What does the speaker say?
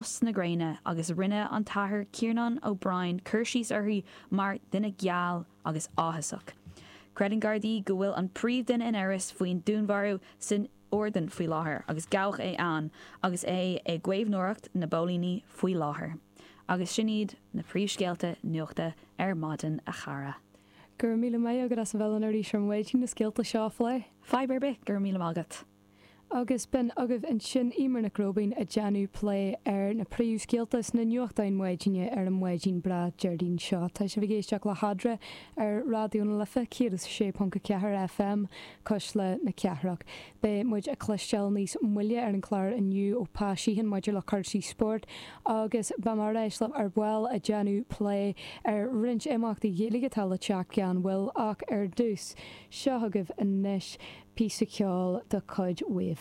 Na gréine agus rinne an tAthair Ciarnán O'Brien cur síos uirthi mar duine geal agus áthasach. Creideann Gardaí go bhfuil an príomhdhuine in amhras faoin dúnmharú san Iordáin faoi láthair agus gabhadh é ann agus é i gcaomhnóireacht na bpóilíní faoi láthair. Agus sin iad na príomhscéalta nuachta ar maidin, a chara. Go raibh míle maith agat as a bheith linn arís ar maidin na scéalta seo a phlé. Fadhb ar bith, go raibh míle maith agat. Agus b'in agaibh ansin Eimear Nic Róibín ag déanamh plé ar na príomhscéalta sna nuachtáin maidine ar an maidin breá Déardaoin seo. Tá sibh ag éisteacht le hEadra ar Raidió na Life 106.4 FM, Cuisle na Cathrach. Beidh muid ag cloisteáil níos moille ar an chlár inniu ó Pa Sheehan maidir le cúrsaí spóirt agus beidh mé ar ais libh ar ball ag déanamh plé ar roinnt imeachtaí Gaeilge atá le teacht gan mhoill ach ar dtús, seo agaibh anois. Píosa ceoil de chuid Wave.